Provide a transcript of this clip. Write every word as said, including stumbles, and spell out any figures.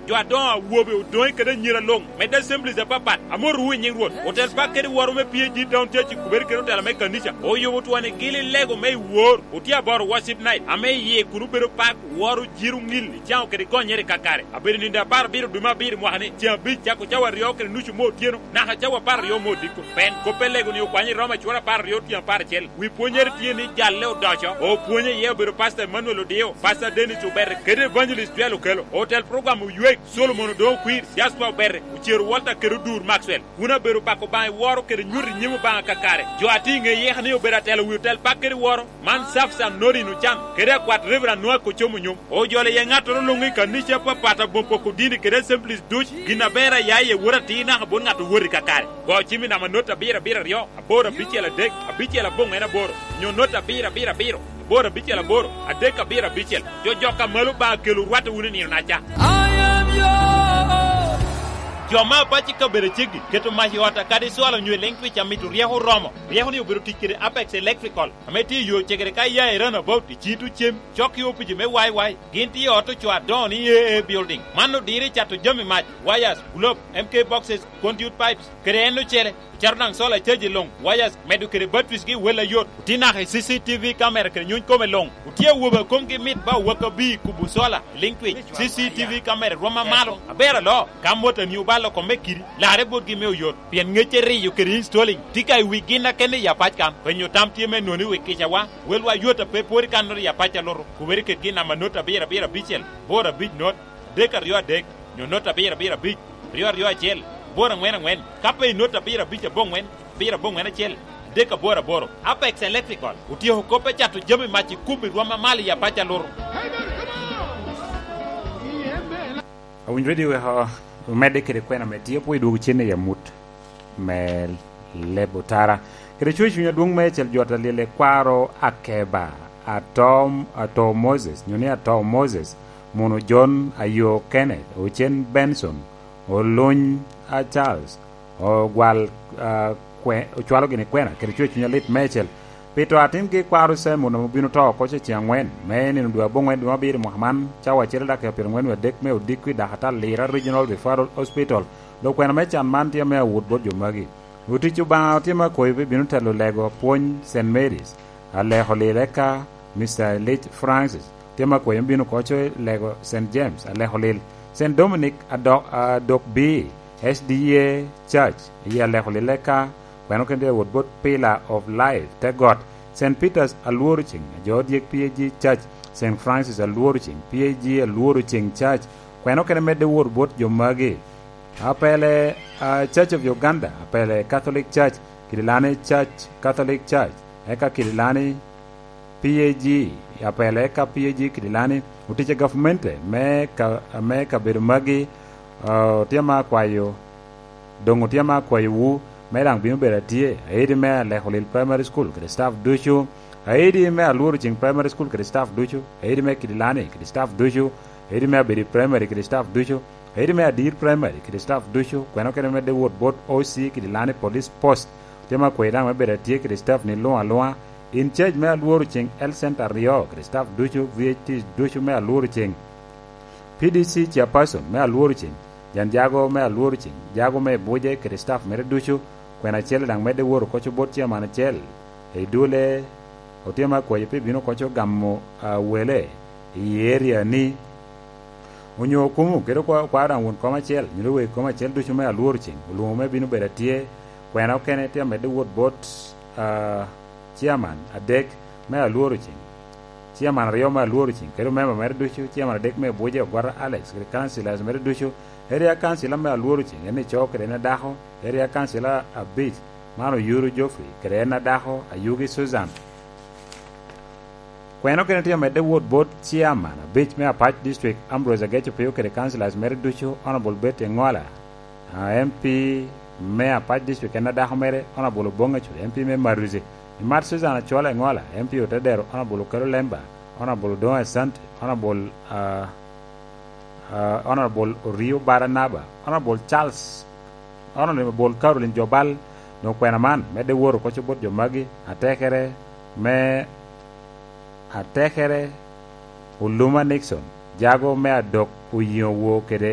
Jo adoŋo awobe odoŋe kede anyira luŋ, medde assemblies apapat, amotowu i nyiŋ Rwot. Otel pak kede woro me P A G Town Church i Kuberi kede otela me kanica oyubo twoni gili lego me i wor. Otye aboro worship night, ame iye kun obedo pak, woro, jiro, ŋil, icaŋo kede gonyere i kakare. Abedo nindo apar abiro dwe me abiro mwaka ni, ceŋ abic cako cawa aryo kede nucu me otyeno, naka cawa apar aryo me odiko. Pen kop pe lego ni okwanyo i Roma cura apar aryo tyen apar acel. Wi pwonyere tye ni jalle odoco. Opwonye iye obedo Pastor Emmanuel Odio, Pastor Dennis Obere, kede Evangelist Joel Okelo. Otel program Oywek, Solomon Odoŋo Kwir, Jasper Obere, Ocero Walter kede Odur Maxwell. Kun abedo pako Obaŋa i woro kede nyuto i nyim Obaŋa kakare. Jo a tye i ŋe yeka ni obedo atelo wi otel pak kede woro, man Safsan Norin Ocan, kede akwat Reverend Noah Kocom Onyom. Ojolo iye ŋattoro luŋ i kanica apapat aboŋ poko dini kede assemblies duc, gin aber a ya iye wot atir naka bot ŋat owot i kakare. Go cim i namba not abiro abiro aryo, aboro abicel adek, abicel aboŋwen aboro, nyo not abiro abiro abiro, aboro abicel aboro, adek abiro abicel. Jo jok a malo Obaŋa kelo rwatte wunu i nino-naca. Jo me apac i kabedo aceggi keto mac i ot a kadi cwalo nyo i leŋ twic a mito ryeko oromo. Ryeko-ni obedo tic kede Apex Electrical, ame tye i yo cegere ka iya i Roundabout i Cito Cem, cok i opici me Y Y. Gin tye i ot ocoo adoŋo ni A A Building. Man odiro i cato jami mac, wires, globe, M K boxes, conduit pipes, kede en ocele. Ocato daŋ solar charge luŋ, wires, medo kede batteries gi wel ayot. Otye naka i C C T V camera kede nyuny kome luŋ. Otye awobe a komgi mit ba owakabi i kubo solar, liŋ twic, C C T V camera rwom amalo. Aber aloo, ka motani obalo kome kidi, larre botgi me oyot. Pien ŋec eriyo kede installing tye ka i wi gin a kende i apac kan. Penyo tam tye me nwoŋo i wi kicawa, welwa yot a pe pwod i kannoro i apac a luto. Kubere kede gin namba not abiro abiro abicel, boro abic not, adek aryo adek, nyo not abiro abiro abic, aryo aryo acel, boro aŋwen aŋwen, ka pe i not abiro abic aboŋwen, abiro aboŋwen acel, adek aboro aboro. Apex Electrical otyeko kop me cato jami mac i kubo i rwom amalo i apac a luto. Awinyo redio weko omedde kede kwena me tye pwod idwogo cen i amut me leb otara. Kede coc cuny adwoŋ meicel jot alyel i kwaro Akeba, Ato, Ato Moses, nyo ni Ato Moses, Muno John, Ayo Kenneth, Ocen Benson, Oluny, a, Charles, ogwal, a, kwe-, ocwalo gini kwena, kede coc cuny alit meicel. Pi to atingi kwaro Simon ame obino to oko ce ceŋ aŋwen, me nino dwe aboŋwen dwe me abiro i mwaka man, cawa acel daki pyeraŋwen wie adek me odiko i Dakatal Lira Regional Referral Hospital. Dok kwena me can man tye me awot bot jo magi. Otic Obaŋa otye me akoyo pe bino telo lego pwony Saint Mary's, aleko lile ka Mister Elijah Francis, tye me akoyo me bino koco lego Saint James, aleko lil Saint Dominic adok, adok bi S D A Church, i aleko lile ka Kweno kene tye wot bot Pillar of Life, te got, Saint Peter's Alworo Ceng, jo odyek P A G Church, Saint Francis Alworo Ceng, P A G Alworo Ceng Church, kweno kene medde wot bot jo magi. Apele, ah, Church of Uganda, apele Catholic Church, Kidilani Church, Catholic Church, eka Kidilani P A G, apele eka P A G Kidilani, otic a gavmente me ka, me kabedo magi, ah, tye ma akwayo Doŋ otye ma akwayowu, me daŋ bino bedo atye, aidi me Aleko Lil Primary School kede staff ducu, aidi me Alworo Ceng Primary School kede staff ducu, aidi me Kidilani kede staff ducu, aidi me Abedi Primary kede staff ducu, aidi me Adir Primary kede staff ducu, kweno kene medde wot bot O C Kidilani Police Post. Otye ma akwayi daŋ me bedo atye kede staff ni luŋ aluŋa. In charge me Alworo Ceng Health Center aryo kede staff ducu, V H T ducu me Alworo Ceng. P D C chairperson me Alworo Ceng, Jan Jago me Alworo Ceng, Jago me Buje kede staff mere ducu, kwena acel daŋ medde wot oko co bot chairman acel. I dule, otye ma akwayo pe bino oko co gamo, ah, wele i area ni. Onyo okumo kede okwa-, okwaro daŋ won kom acel, nyo wegi kom acel ducu me Alworo Ceng, olwoŋo me bino bedo atye. Kwena okene tye amedde wot bot, ah, chairman adek me Alworo Ceng, chairman aryo me Alworo Ceng, kede omemba mere ducu, chairman adek me Buje, Ogwata Alex, kede councillors mere ducu, area councillor me Alworo Ceng, en ico kede en adako, area councillor abic, man Oyuru Geoffrey, kede en adako, Ayugi Susan. Kweno kene tye amedde wot bot chairman abic me Apac District, Ambrose Ageco Pio, kede councillors mere ducu, Honourable Betty Engola, ah, M P me Apac District en adako mere, Honourable Obonga Curi, M P me Maruzi, Imat Susan Acwala Engola, M P Otedero, Honourable Okelo Lemba, Honourable Odongo Asante, Honourable, ah, ah, Honourable Orio Baranaba, Honourable Charles, Honourable Caroline Jobal, doŋ kwena man medde wot oko co bot jo magi, atekere me, atekere Oluma Nixon, Jago me Adok Oyiŋo Woo kede